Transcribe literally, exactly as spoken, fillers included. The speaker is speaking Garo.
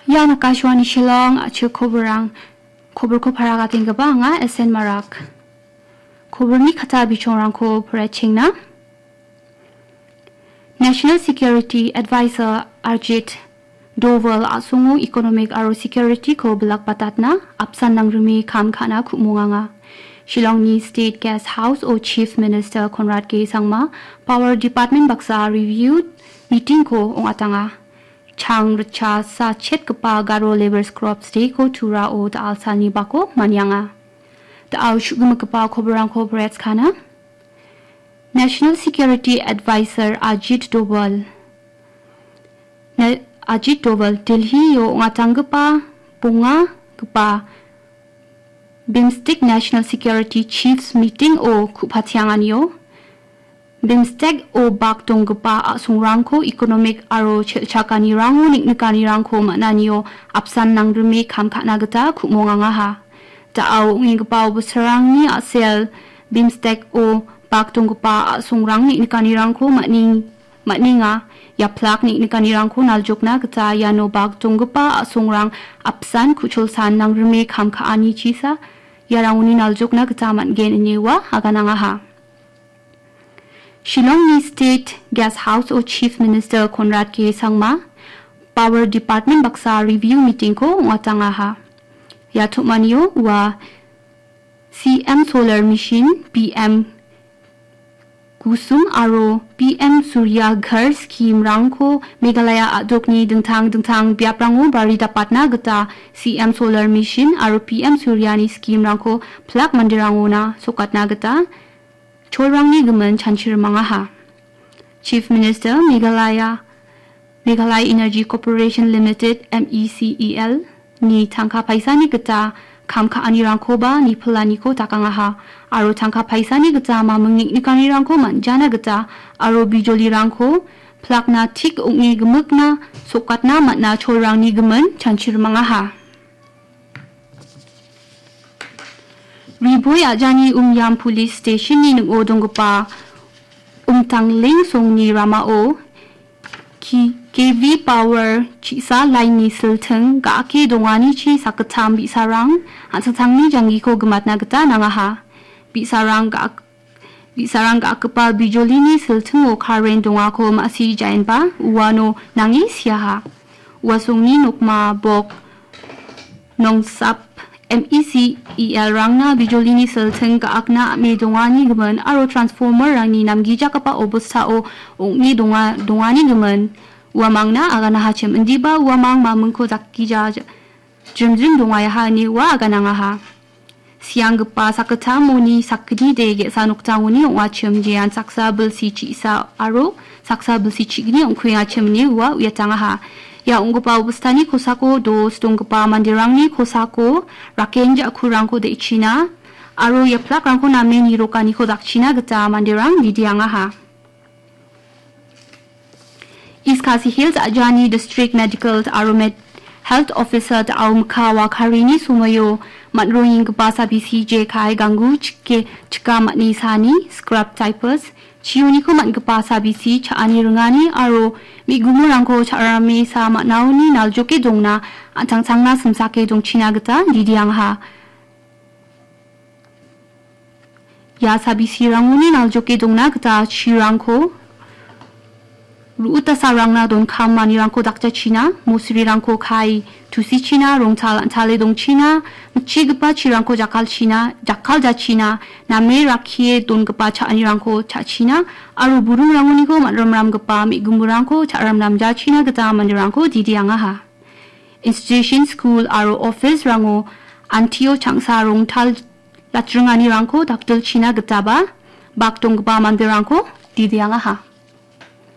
Ian Akashvani Shillong, a·chik koborrang, koborko paragatenggipa anga S N Marak. Koborni kata bichongrangko poraichengna. National Security Advisor Ajit Doval a·songo economic aro security-ko bilakbatatna apsan nangrime kam ka·na ku·monganga. Shillongni State Guest House-o Chief Minister Conrad K Sangma Power Department baksa review meeting-ko ong·atanga. Chang ritcha sachetgipa Garo Labourers Corps Day-ko Turao da·alsalni bako manianga. Da·ao shu·gimikgipa koborrangko poraichkana. National Security Advisor Ajit Doval. Na-, Ajit Doval Delhi-o ong·atanggipa bongagipa BIMSTEC National Security Chiefs Meeting-o ku·patianganio BIMSTEC-o bak donggipa a·songrangko economic aro chelchakanirango neng·nikanirangko man·anio apsan nangrime kam ka·na gita ku·mongangaha. Da·ao ong·enggipa obosarangni a·sel BIMSTEC-o bak donggipa a·songrang neng·nikanirangko man·eng-, man·enga. Ia plak neng·nikanirangko naljokna gita iano bak donggipa a·songrang apsan ku·cholsan nangrime kam ka·anichisa iarangoni naljokna gita man·gen ine ua aganangaha. Shillongni State Guest House-o Chief Minister Conrad K Sangma Power Department baksa review meeting-ko ong·atangaha. Ia tom·anio ua C M Solar Mission, P M Kusum aro P M Surya Ghar scheme-rangko Meghalaya a·dokni dingtang dingtang biaprango bari dapatna gita C M Solar Mission aro P M Suryani scheme-rangko plak manderangona sokatna gita cholrangni gimin chanchirimangaha. Chief Minister Meghalaya, Meghalaya Energy Corporation Limited, M E C E L, ni tangka paisani gita kam ka·anirangkoba nipilaniko dakangaha, aro tangka paisani gita maming neng·nikanirangko man·jana gita aro bijolirangko plakna tik ong·e gimikna sokatna man·a cholrangni gimin chanchirimangaha. Riboi Ajani Umiam Police Station-ni ning·o donggipa Umtangling songni ramao K-, K V power chi·sa line-ni silting ga·ake donganichi sakgittam bi·sarang an·tangtangni janggiko gimatna gita nangaha. Bi·sarang ga-, Bi·sarang ga·akgipa bijolini siltingo karen dongako ma·si jaenba uano nange siaha. Ua songni nokma bok nongsap M E C E L-rangna bijolini silting ga·akna am·e dongani gimin aro transformer-rangni namgijakgipa obostao ong·e donga-, dongani gimin uamangna aganahachim, indiba uamang mamingko dakgija ja-, jrimjrim dongaha ine ua aganangaha. Sianggipa sakgittamoni sakgnide ge·sa noktangoni ong·achim, jean saksa bilsi chi·sa aro saksa bilsi chi·gni ong·kuengachim ine ua uiatangaha. Ia ong·gipa obostani kosako dos donggipa manderangni kosako raken ja·kurangko de·china aro ia plakrangko name nirokaniko dakchina gita manderang bidiangaha. East Khasi Hills Ajani District Medical aro Med-, Health Officer da·ao mikka wakarini somoio man·rongenggipa sabisi jekai ganggu chike chika man·e sani scrub typhus chioniko man·gipa sabisi cha·ani ringani aro me·gumorangko cha·rame sa man·aoni naljoke dongna an·tangtangna simsake dongchina gita didiangaha. Ia sabisirangoni naljoke dongna gita chirangko ru·utasarangna donkam manirangko dakjachina, mosrirangko kai tusichina, rongtal an·tale dongchina, mitchigipa chirangko jakkalchina, jakkaljachina, name rakkie dongipa cha·anirangko cha·china, aro buringrangoniko man·ramramgipa me·gumburangko cha·ramramjachina gita manderangko didiangaha. Institution, skul aro office-rango antio changsa rongtal jatringanirangko dakdilchina gitaba bak donggipa manderangko didiangaha.